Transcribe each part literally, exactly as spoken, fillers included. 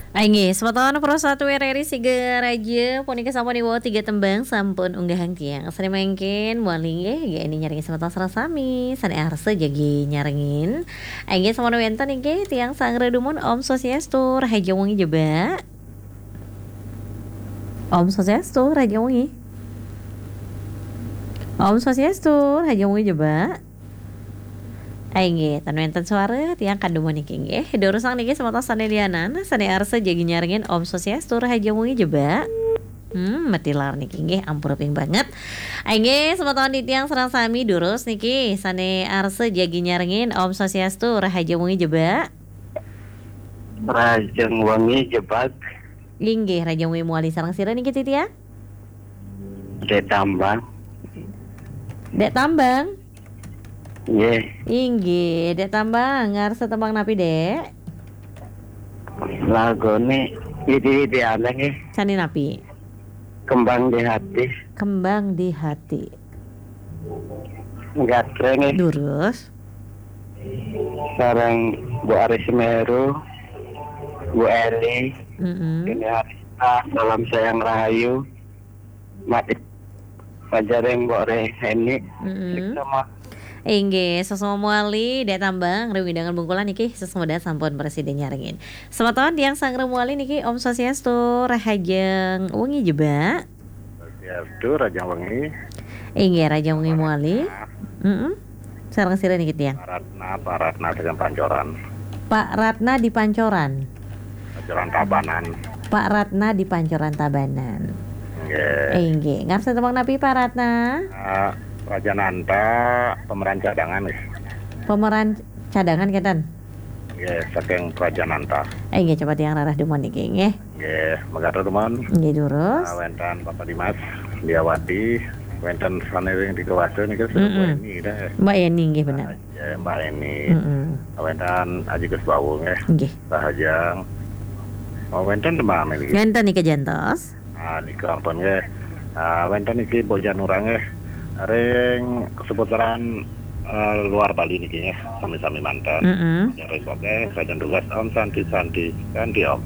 Inggih, semeton Pro satu R R I Sigaraja, punika sampun iwau tiga tembang sampun unggahang tiang. Sané mangkin malih inggih, nggih, nyarengin semeton sareng sami, sané arsa jagi nyarengin. Inggih, sampun wénten inggih tiang sanggra dumun, Om Swastiastu, rahajeng wengi jebak. Om Swastiastu, rahajeng wengi. Om Swastiastu, rahajeng wengi jebak. Inggih, tan wénten suara, tiang kadumun niki inggih. Durusang niki semeton sané lianan, sané arsa jagi nyarengin, Om Swastiastu, rahajeng wengi jebak. Hmm, matilar niki inggih, ampura ping banget. Inggih, semeton titiang sareng sami durus niki, sané arsa jagi nyarengin, Om Swastiastu, rahajeng wengi jebak. Rahajeng wengi jebak. Inggih, rahajeng wengi malih, sareng sira niki titiang? Dék Tambang. Dék Tambang? Nggih. Inggih, Dék Tambang, ngarsa tembang napi, Dék? Laguné widi-widi ané nggih. Sané napi? Kembang di Hati. Kembang di Hati. Gatra nggih. Durus. Sareng Bu Aris Meru, Bu Eli, Mm-mm. Deni Arista, salam sayang rahayu. Mati pajareng Mbok Reheni. Mm-mm. Sama. Inggih, sesama malih, Dék Tambang, ring wewidangan Bungkulan niki, sesama sampun prasida nyarengin. Semeton tiang sanggra malih niki, Om Swastiastu, rahajeng wengi jebak. Swastiastu, rahajeng wengi. Inggih, rahajeng wengi malih. Mm-mm. Sareng sira niki tiang? Pak Ratna, Pak Ratna saking Pancoran. Pak Ratna di Pancoran. Pancoran Tabanan. Pak Ratna di Pancoran Tabanan. Nggih. Inggih. Ngarsa tembang napi, Pak Ratna? Ah, Prajananta, pemeran cadangan nggih. Pemeran cadangan kénten? Nggih, saking Prajananta. Inggih, coba tiang rarah dumun niki nggih. Nggih, mekaten dumun. Nggih, durus. Ah, wénten Bapak Dimas, Diawati, wénten sané ring Tiga Watu niki, Mm-mm. Bu Eni, nggih. Mbak Eni, nggih, bener. Ya, Mbak Eni. Mm-mm. Wénten Aji Gus Bawu nggih. Nggih. Rahajeng. Oh, wénten tembang niki. Wénten niki jantos. Ah, nika ampun nggih. Ah, wénten niki Bojanura nggih. Ring seputaran, eh, luar Bali niki nggih, sami-sami manten. Mm-mm. Ring koké, sajan tugas Om Santi Santi, Santi Om.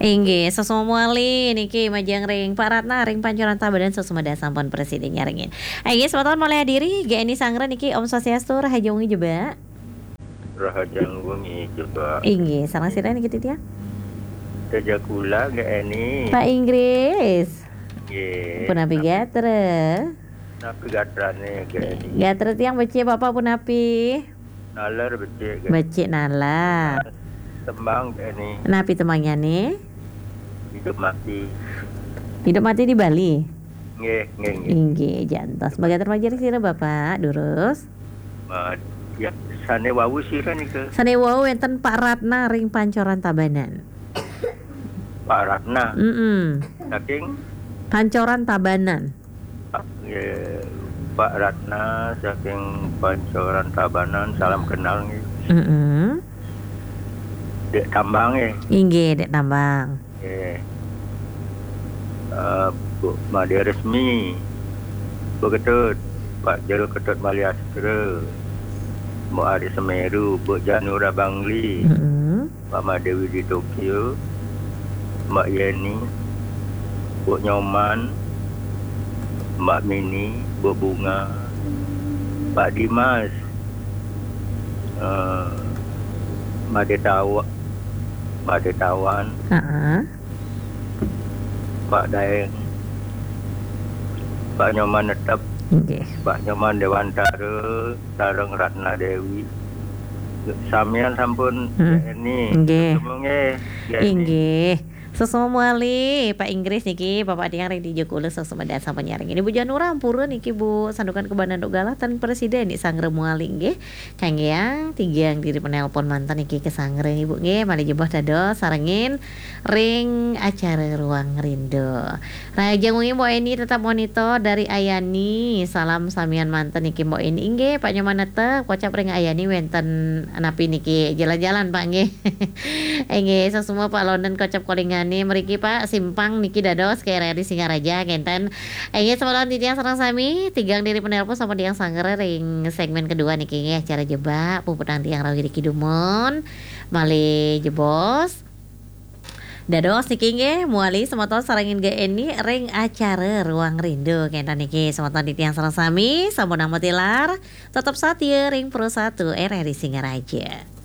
Inggih, sesama malih niki majeng ring Pak Ratna, ring Pancoran Tabanan, sesama sampun prasida nyarengin. Inggih, semeton malih hadiri, G N I Sanggra niki, Om Swastiastu, rahajeng wengi jebak. Rahajeng wengi jebak. Inggih, sareng sira niki titiang? Teja kula, G N I. Pak Inggris. Nggih. Punapi gatra? Napi gatrané, G N I? Gatra tiang becik, Bapak punapi? Nalar becik, G N I. Becik nalar. Tembang, G N I. Napi tembangnyané? Hidup Mati. Hidup Mati di Bali? Nggih, nggih, nggih. Inggih, jantos. Mekaten majeng sira, Bapak, durus. Ma-, ya, sané wau sira nika? Sané wau wénten Pak Ratna ring Pancoran Tabanan. Pak Ratna? Mm-mm. Saking? Pancoran Tabanan. Pak, nggih, Pak Ratna saking Pancoran Tabanan, salam kenal nggih. Mm-mm. Dék Tambang nggih. Inggih, Dék Tambang. Nggih. Eh, Bu Made Resmi, Bu Ketut, Pak Jero Ketut Maliastra, Bu Ari Semeru, Bu Janura Bangli, Mm-mm. Pak Made Widi Tokyo, Mbak Yeni, Bu Nyoman, Mbak Mini, Bu Bunga, Pak Dimas, eh, Made Tawa-, Made Tawan, Heeh. Pak Daeng, Pak Nyoman Netep, Nggih. Pak Nyoman Dewantara, sareng Ratna Dewi. Samian sampun, Hmm. G N I. Nggih. Ketemu nggih, G N I. Inggih. Sesama malih, Pak Inggris niki, Bapak tiang ring Tijo Kulus, sesama sampun nyarengin. Ibu Janura ampura niki, Bu, Sandukan Kebanan Donggala, tan prasida niki sanggra malih nggih. Kanggiang tigang diri penelpon manten niki kasanggra, Ibu, nggih, malih jebos dados sarengin ring acara Ruang Rindu. Rahajeng wengi, Mbok Eni, tetap monitor dari Ayani. Salam samian manten niki, Mbok Eni. Inggih, Pak Nyoman Netep, kocap ring Ayani wénten napi niki, jalan-jalan, Pak, nggih. Inggih, sesama Pak London kocap kolingané mriki, Pak, simpang niki dados K R R I Singaraja, kénten. Inggih, semeton titiang sareng sami, tigang diri penelpon sampun tiang sanggra ring segmen kedua niki, nggih, acara Jebak, puputang tiang rauh niki dumun, malih jebos. Dados niki nggih, mewali semeton sareng Inggih Eni ring acara Ruang Rindu. Kenten niki semeton titiang sareng sami, sampun nampa tilar, tetep satia ring Pro satu R R I Singaraja.